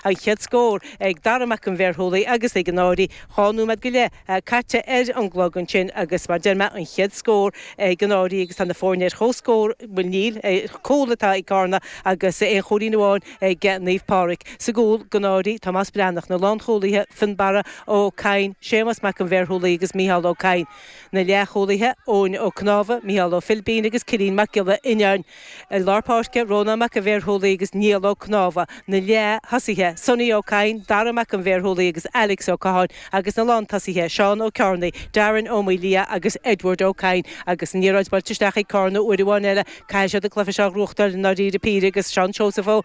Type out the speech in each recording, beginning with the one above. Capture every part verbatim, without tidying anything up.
An chéad scór ag Dara Mac an Bhéarthólaí agus ag an Áirí dhá nóiméad go leith caite ar an gclog ansin agus mar deir mé an chéad scór ag an Áirí agus tá na foirne ar comhscór bhuel níl cúl atá ag Carna agus aon chúilín amháin ag Naomh Pádraig. Sa gcúl don Áirí Tomás Breathnach na lánchúlaithe Fionnbarra Ó Cadhain, Séamas Mac an Bhéarthólaí agus Mícheál Ó Cadhain. Na leathchúlaithe Eoin Ó Cnámha, Mícheál Ó Philbín agus Cillian Mac Giolla Fhionnáin. I lár páirce Rónán Mac an Bhéarthólaí agus Niall Ó Cnámha. Na leath-thosaithe Sonny Ó Cadhain, Dara Mac an Bhéarthólaí agus Alex Ó Catháin agus na lántosaithe Seán Ó Cearnaigh, Darren Ó Maoildhia agus Edward Ó Cadhain agus an liathróid buailte isteach ag Carna uair amháin eile caithfidh siad an cluiche seo a ghnóthachtáil i ndáiríre píre agus Seán Seosamh Ó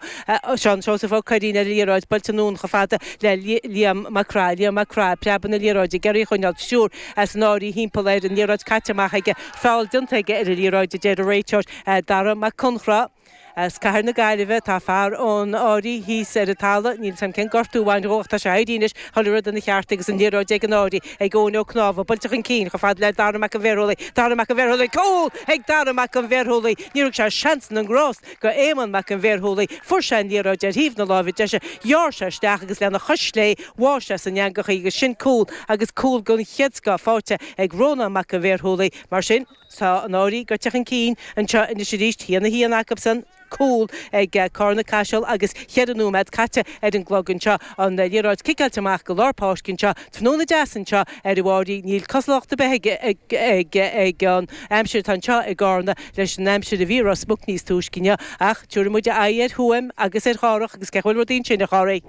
Seán Seosamh Ó Curraoin ar an liathróid buailte anonn chomh fada le Liam Mac Craith, Liam Mac Craith, preabadh na liathróide ag iarraidh í a choinneáil triúr as an Áirí thimpeall air an liathróid caite amach aige feall déanta aige ar an liathróid a deir an réiteoir Dara Mac Conchra. As cathair na Gaillimhe tá fear ón Áirí thíos ar an talamh, níl 's a'm cén gortú a bhain dhó ach tá sé éirithe anois, chuile rud ina cheart agus an liathróid ag an Áirí ag Eoin Ó Cnámha, buailte chun cinn chomh fada le Dara Mac an Bhéarthólaí, Dara Mac an Bhéarthólaí, cúl ag Dara Mac an Bhéarthólaí, níor thug sé seans na ngrást go Éamonn Mac an Bhéarthólaí, fuair sé an liathróid ar thaobh na láimhe deise, ghearr sé isteach agus lena chois chlé bháigh sé san eangach í agus sin cúl agus cúl den chéad scoth faighte ag Rónán Mac an Bhéarthólaí. Mar sin, tá an Áirí gaibhte chun cinn anseo anois arís, haon a haon acusan, cúl ag Carna Caiseal agus cheithre nóiméad caite ar an gclog anseo. An liathróid ciceáilte amach go lár páirce anseo. Tráthnóna deas anseo ar an Mháirí. Níl cosúlacht ar bith ag ag ag an aimsir atá anseo i gCarna leis an aimsir a bhí i Ros Muc níos túisce inniu. Ach tabharfaidh muid aghaidh ar Thuaim agus ar Chárthach agus cén chaoi a bhfuil rudaí ansin a Chárthaigh.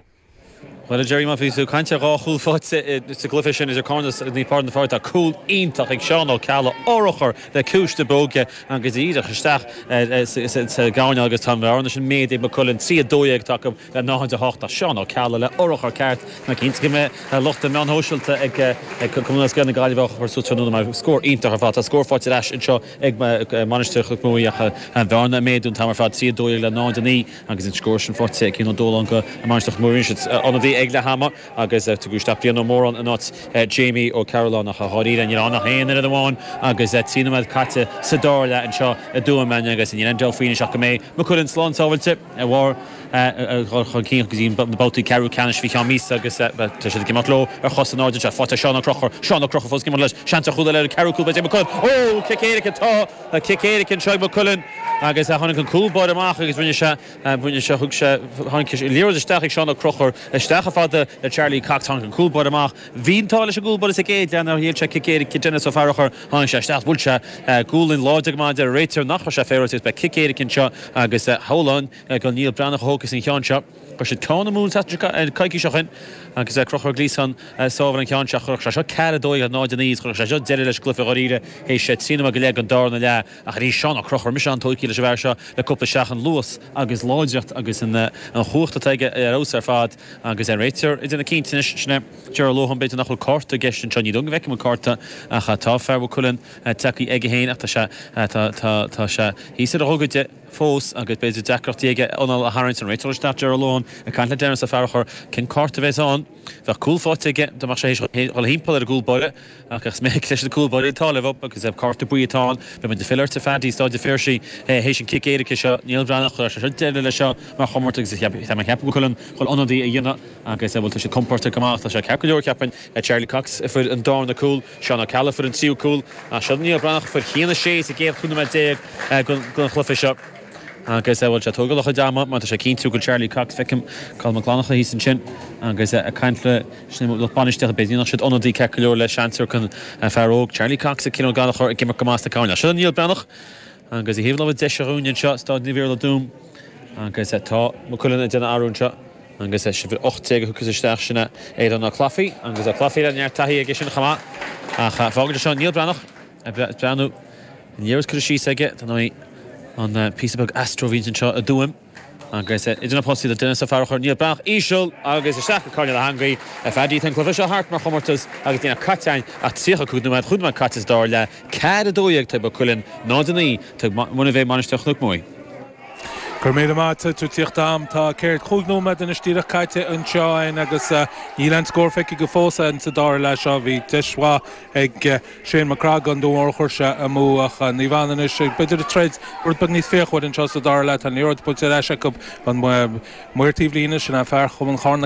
Bhuel, a Gerry, má bhí tú ag caint ar dhá chúl faighte sa gcluiche sin idir Carna agus Naomh Pádraig na Fáirche, tá cúl iontach ag Seán Ó Ceallaigh, urchar le ciumhais na bróige agus díreach isteach sa gcoirnéal agus tá an bhearna sin méadaithe ag Maigh Cuilinn, trí a dó dhéag atá acu le náid a hocht. Ach Seán Ó Ceallaigh le urchar ceart, tá mé cinnte go mbeidh lucht na meán shóisialta ag Cumann Lúthchleas Gael na Gaillimhe á chur suas tráthnóna mar scór iontach ar fad. Tá scór faighte ar ais anseo ag Mainistir Chnoc Muaidhe ach an bhearna ag méadú an t-am ar fad, trí a dó dhéag le náid a naoi. Agus an scór sin faighte ag Cian Ó Dóláin do Mhainistir Chnoc Muaidhe. Rinne siad ionadaí ag leath ama agus tugadh isteach Brian Ó Móráin in áit Jamie Ó Cearúlláin ach dháiríre níl ann ach aon oiread amháin agus trí nóiméad caite sa dara leath anseo i dTuaim agus níl aon dabht faoi anois ach go mbeidh Maigh Cuilinn slán sábhailte ar bharr a dhul chun cinn go dtí na babhtaí ceathrú ceannais faoi cheann míosa agus tá siad ag imeacht leo ar chos in airde anseo. Faighte ag Seán Ó Conchúir, Seán Ó Conchúir fós ag imeacht leis, seans ar chúl eile ar an ceathrú cúl b'fhéidir ag Maigh Cuilinn. Ó! Cic éirice atá, cic éirice anseo ag Maigh Cuilinn agus tháinig an cúl báire amach agus rinne sé, rinne sé, thug sé, tháinig an liathróid isteach ag Seán Ó Conchúir, isteach chomh fada le Charlie Cox, tháinig an cúl báire amach. Bhí an t-ádh leis an gcúl báire sa gcéad leath nár ghéill sé cic éirice Denis Ó Fearchair, tháinig sé isteach, bhuail sé gualainn láidir go maith, deir an réiteoir nach raibh sé féaráilte agus beidh cic éirice anseo agus shamhlóinn gur Niall Breathnach a thógfas an ceann seo. Chuir siad ceann amú an tseachtain coicís ó shin agus Conchúr Ó Gliasáin ag sábháil an ceann seo. Chuirfeadh sé seo ceathair a dó dhéag le náid a naoi is chuirfeadh sé seo deireadh leis an gcluiche dháiríre théis trí nóiméad go leith den darna leath. Ach arís Seán Ó Conchúir, mise an-tógtha leis an bhfear seo le cúpla seachtain, luas agus láidreacht agus an chumhacht atá aige ar fheabhas ar fad agus an réiteoir ag déanamh cinnte anois, sin é Ger Ó Lócháin, b'fhéidir nach bhfuil cárta i gceist anseo, ní dóigh go bhfeicim an cárta ach tá fear Mhaigh Cuilinn tagtha aige féin ach tá sé tá sé thíos ar a ghogaide. fós agus b'fhéidir deacrachtaí aige anáil a tharraingt, an réiteoir isteach Ger Ó Lócháin ag caint le Denis Ó Fearchair cén cárta a bheas ann. Bheadh cúl faighte aige dá mbeadh sé théis dhul thimpeall ar an gcúl báire ach is minic leis na cúl báirí an t-ádh leo agus cárta buí atá ann. Beidh muid ag filleadh ort a Phaddy, Stáid an Phiarsaigh théis an cic éirice seo. Niall Breathnach, chuir sé seo deireadh leis seo mar chomórtas agus tá mé ag ceapadh go bhfuil an chun ionadaí a dhéanamh agus bhuel tá siad compordach go maith. Tá sé ceart go leor cheapfainn. Charlie Cox a fuair an darna cúl, Seán Ó Ceallaigh a fuair an tríú cúl ach seo Niall Breathnach a fuair haon a sé sa gcéad chúig nóiméad déag den chluiche seo agus bhuel sé ag tógáil a chuid ama mar tá sé ag cinntiú go bhfuil Charlie Cox, feicim Colm Mac Fhlannchadha thíos ansin agus ag caint le lucht bainistíochta b'fhéidir nach siad ionadaí ceart go leor le seans ar an fear óg Charlie Cox ag Cian Ó Gallchóir ag imirt go maith sna coirnéil. Seo Niall Breathnach agus i dtaobh láimhe deise dhúinn anseo, Stáid Naomh Iarlaith Tuaim agus tá Maigh Cuilinn ag déanamh athrú anseo. Agus is uimhir ocht déag a thiocfas isteach, sin é Aodán Ó Clafaí, agus Ó Clafaí le neart taithí aige sin chomh maith. Ach fágfaidh seo Niall Breathnach ag breathnú, an liathróid curtha síos aige, dar ndóigh, an píosa beag astro a bhíonns anseo i dTuaim. Agus idir na postaí tá Denis Ó Fearchair, Niall Breathnach íseal agus isteach go coirnéal na heangaí. A Phaddy, tá an cluiche seo thart mar chomórtas agus níl caite againn ach tríocha cúig nóiméad, chúig nóiméad caite sa dara leath, ceathair a dó dhéag ag Maigh Cuilinn, náid a naoi ag Muine Mheá Mainistir Chnoc Muaidhe. Gur mé má tú tíocht am tá céir chúig nóiméad anois díreach caite anseo agus níl aon scór feicthe go fós an sa dara leath seo bhí deis mhaith ag Shane McCrag an dúmhar chuir sé amú ach ní bhain anois b'fhéidir troid rud beag níos féachmhaire anseo sa dara leath an liathróid buailte acu an maor taobhlíne sin an fear chun an chorna